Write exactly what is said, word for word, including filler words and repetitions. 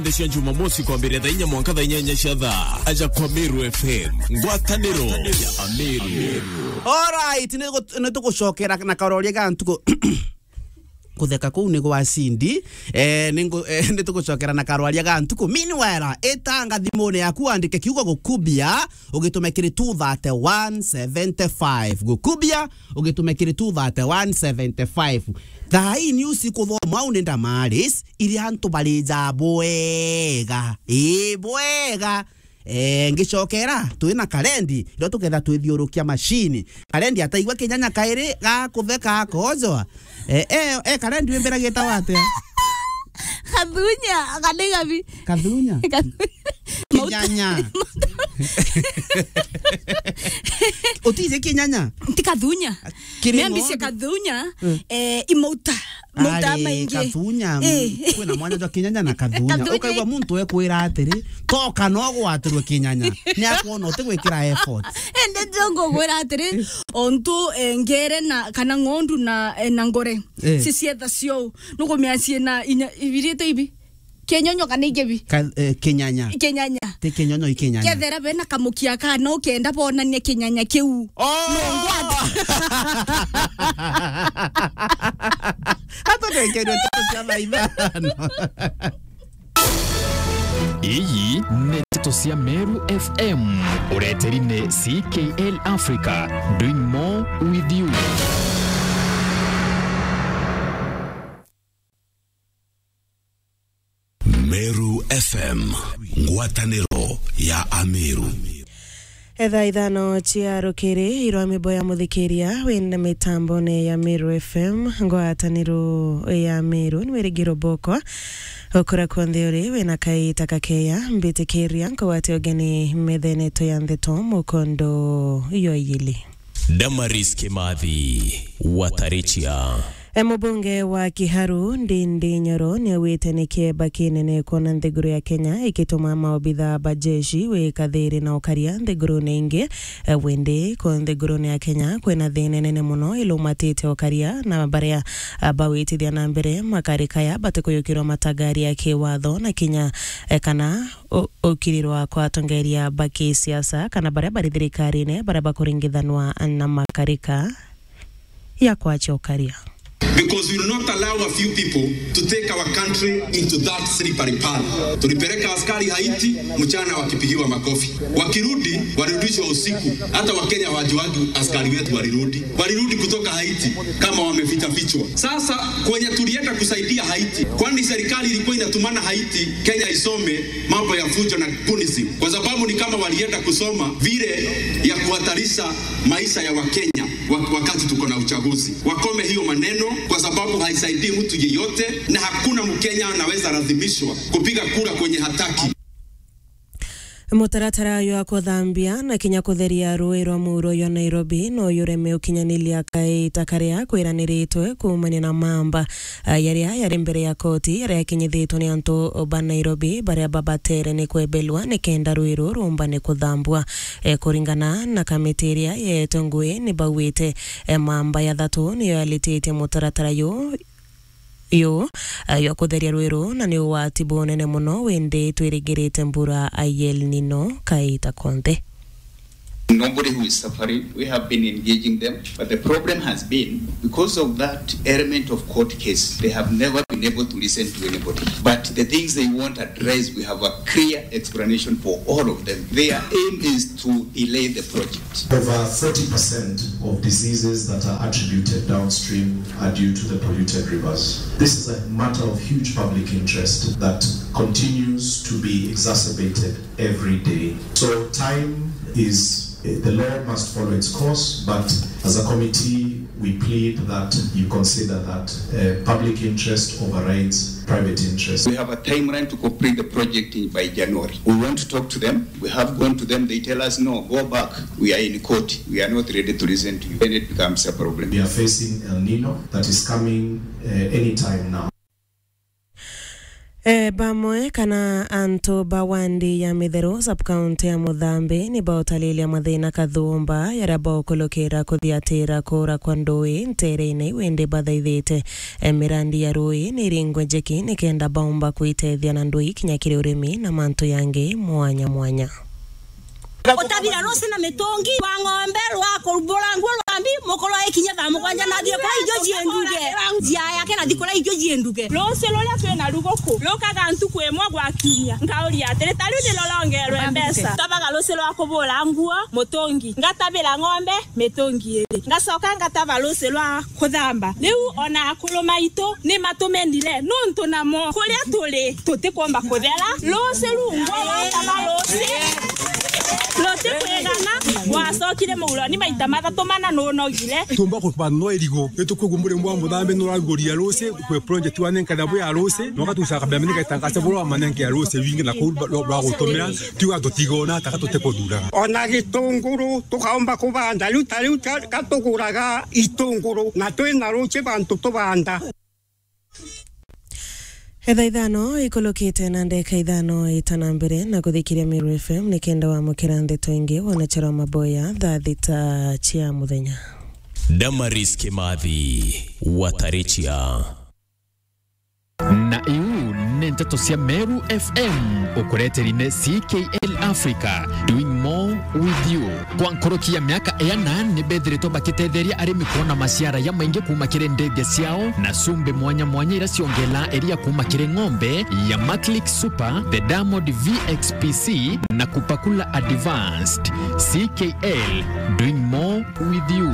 Nthi cia Jumamosi kwambiria thaa inya mwanka thaa inyanya cia thaa. Aja kwa Meru F M. Ngwataniro ya Ameru. Alright, ni gu-, ni tugucokera na karoria ga ntuku. Kutheka kuu ni gwa Cindy. Eh, ni ngu-, eh, ni tugucokera na karwaria ga ntuku. Meanwhile, itanga thimune yaku, wandike kiugo gukubia, ugitume kiri two thirty one seventy five. Gukubia, ugitume kiri two thirty one seventy five. Thaa ii news ikuthomwa au ni Damaris, iria antu barija bwega. Ii, bwega. Eh, ngicokera, twi na Karendi, irio tuketha twithiurukia macini. Karendi ataigua kinyanya kairi ga kutheka akojoa. Eh, eh, eh, Karendi wimbira gitawa atia? Kathunya, kana igabi. Kathunya? Kathunya. Kinyanya. Utije kinyanya? Nti kathunya. Kiri Miambi cia ng'ondu. Kathunya, Mm. Eh, imauta. Mauta Ari maingi. Kathunya, Eh. Kwina mwanya jwa kinyanya na kathunya. Kathunya. Ukaigua muntu ekwira atiri, "Toka no gwatirwe kinyanya." Ni akwona utigwikira effort. Ende jongo gwira atiri, ontu, eh, ngere na, kana ng'ondu na, eh, na ngore. Eh. Cicietha cio. Nukumia ciina inya, ibirite ibi. Kinyonyo kana igebi? Ka-, eh, kinyanya. Kinyanya. Ti kinyonyo, i kinyanya. Kethera bena kamukia ka no kenda bonanie kinyanya kiu. Oh! No ngwata. Hata kwengeria tatu cia thaa ithano. Iyi ni Nteto cia Meru F M. Ureteri ni C K L Africa, doing more with you. Meru F M, ngwataniro ya Ameru. Etha ithano cia rukiri, irwa mibo ya muthikiria wina mitambone ya Meru F M, ngwataniro ya Meru, ni wirigiro bokwa. Ukura kwonthe uri, wina kaita kakeya, mbitikiria nkugwate ugeni methene tu ya ntheto mukondo yo yili. Damaris Kimathi, Watarichia. E, mubunge wa Kiharu, Ndindi Nyoro, niaugite ni kieba kinene kwona nthiguru ya Kenya ikituma maobitha ba jeshi wika thiri na ukaria nthigurune ingi. E, windi ku nthigurune ya Kenya kwina thina inene muno ilumatite ukaria, na baria, a, bawitithia na mbere makarikaya batikuyukirwa matagari ya kiwatho na kinya, e, kana u-, ukirirwa kwa atongeria ba kisiasa kana baria bari thirikarine baria bakuringithanwa na makarika ya kwacha ukaria. Because we will not allow a few people to take our country into that slippery path. Tulipeleka askari Haiti mchana wakipigiwa makofi. Wakirudi, walirudishwa usiku. Hata Wakenya hawajuagi askari wetu walirudi. Walirudi kutoka Haiti kama wameficha fichwa. Sasa kwenye tulienda kusaidia Haiti, kwani serikali ilikuwa inatumana Haiti Kenya isome mambo ya fujo na gunisim, kwa sababu ni kama walienda kusoma vile ya kuhatarisha maisha ya Wakenya wa-, wakati tuko na uchaguzi. Wakome hiyo maneno, kwa sababu haisaidii mtu yeyote, na hakuna Mkenya anaweza lazimishwa kupiga kura kwenye hataki. Mutaratara jwa kuthambia na kinya kutheria rui rwa muuro jwa Nairobi no jureme ukinyaniria kaita karia kwiraniritwe kuumania na mamba, a, jaria jari mbere ya koti, jaria yakinyithitwe ni antu ba Nairobi baria babatere ni kwebelwa nikenda rui ruu ruumbane kuthambua. E, kuringana na kamiti iria yeetwe ngui, ni baugite, e, mamba ya thatu niyo yalititie mutaratara juu, juu, a, jwa kutheria rui ruu, na ni ugwati bunene muno, windi twirigirite mbura ya El Nino kaita konthe. Nobody who is suffering, we have been engaging them, but the problem has been, because of that element of court case, they have never been able to listen to anybody. But the things they want addressed, we have a clear explanation for all of them. Their aim is to delay the project. Over forty percent of diseases that are attributed downstream are due to the polluted rivers. This is a matter of huge public interest that continues to be exacerbated every day. So time is, eh, the law must follow its course, but as a committee, we plead that you consider that, eh, public interest overrides private interest. We have a timeline to complete the project in, by January. We want to talk to them. We have gone to them. They tell us, "No, go back. We are in court. We are not ready to listen to you." Then it becomes a problem. We are facing El Nino that is coming, eh, anytime now. E, bamwe kana antu ba wandi ya Mitheru, sub-county ya Muthambi, ni bautariria mathina kathumba jaria baukulukira kuthiatira kuura kwa ndui ntereene iu, indi bathaithite, e, mirandi ya rui ni iringwe njeki nikenda baumba kwitethia na ndui kinya kiri urimi na mantu jangi mwanya mwanya. Gutabira rusi na mitungi rwa ng'ombe, rwa kurumbura nguo rwa mbi, mukuru aikinya thaa mugwanja na athie kuria irio cienduge. Njia yake na thikura irio cienduge. Rusi ruria twina ruguku rukaga ntuku imwe gwa kiumia. Nkauria atiri, ta riu ni rurongerwe mbeca. Tabaga rusi rwa kubura nguo, mutungi. Ngatabira ng'ombe, mitungi iri. Ngacoka ngataba rusi rwa kuthamba. Riu ona akuru maitu ni matumenire, nuntu namo kuria turi tutikwomba kuthera. Rusi rungwa wataba rusi, rutikwigana, wacokire muguroni maita mathatu mana nunogire. Tumba kubanwa irigo, itukwigua murimo wa Muthambi nuraruguria rusi, kwi project wa nenka thabu ya rusi, na ugatucaga mbere nigaitangaca buru wa manenke ya rusi wingi na kuu rwa gutumira, tiuga tutigona taka tutikuthuraga. Ona gitunguru tukaomba kubanda, riu ta riu ka-, katuguraga itunguru, na twina ruci bantu tubanda. Etha ithano ikulukite na ndeka ithano itana mbere na kuthikiria Meru F M nikenda wamukira ndeto ingi wona charo maboya thaa thita cia muthenya. Damaris Kimathi, Watarichia. Na iu ni nteto cia Meru F M, ukureteri ni C K L Africa, doing more with you. Kwa nkuruki ya miaka iana, ni bethiritwe bakitetheria arimi kwona maciara ya maingi kuuma kiri ndege ciao na cumbi mwanya mwanya iria ciongelaa iria kuuma kiri ng'ombe ya Maclick Super, the Diamond V X P C na Kupakula Advanced. C K L, doing more with you.